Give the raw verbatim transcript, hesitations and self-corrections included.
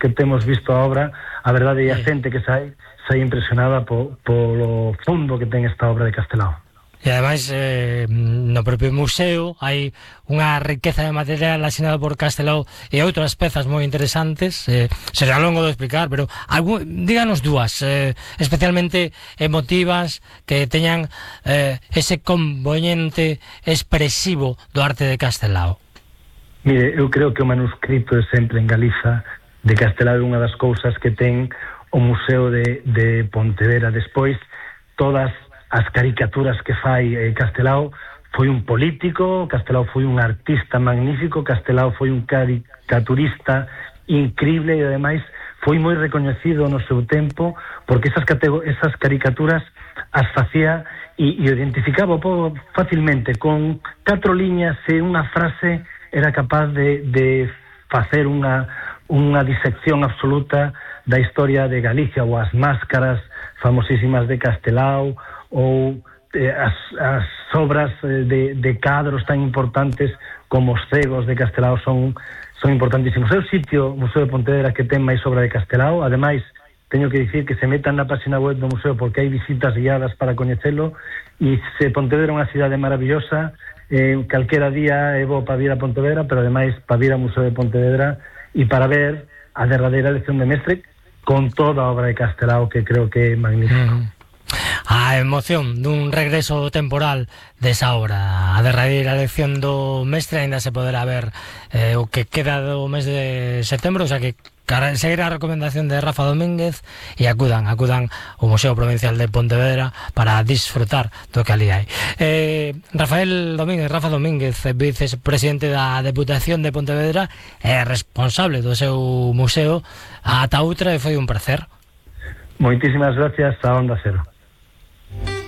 que temos visto a obra, a verdade é a xente que sai sai impresionada po, polo fundo que ten esta obra de Castelao. E ademais eh, no propio museo hai unha riqueza de material asinado por Castelao e outras pezas moi interesantes, eh, será longo de explicar, pero algún, díganos dúas eh, especialmente emotivas que teñan eh, ese componente expresivo do arte de Castelao. Mire, eu creo que o manuscrito é sempre en Galiza de Castelao é unha das cousas que ten o Museo de, de Pontevedra. Despois, todas as caricaturas que fai eh, Castelao, foi un político, Castelao foi un artista magnífico, Castelao foi un caricaturista increíble e ademais foi moi recoñecido no seu tempo porque esas, esas caricaturas as facía e, e identificaba o povo facilmente con catro liñas e unha frase era capaz de, de facer unha, unha disección absoluta da historia de Galicia ou as máscaras famosísimas de Castelao ou eh, as, as obras de, de cadros tan importantes como os cegos de Castelao son, son importantísimos. É o sitio, o Museo de Pontevedra, que ten máis obra de Castelao. Ademais, teño que dicir que se metan na página web do museo porque hai visitas guiadas para coñecelo e se Pontevedra é unha cidade maravillosa, eh, calquera día é bo para vir a Pontevedra, pero ademais para vir ao Museo de Pontevedra e para ver a derradeira lección de mestre con toda a obra de Castelao, que creo que é magnífico. Mm. A emoción dun regreso temporal desa obra, a derradeira lección do mestre, ainda se poderá ver eh, o que queda do mes de setembro, o sea que seguir a recomendación de Rafa Domínguez e acudan, acudan ao Museo Provincial de Pontevedra para disfrutar do que ali hai. Eh, Rafael Domínguez, Rafa Domínguez, vicepresidente da Deputación de Pontevedra, é responsable do seu museo. Ata outra, e foi un placer. Moitísimas gracias a Onda Cero.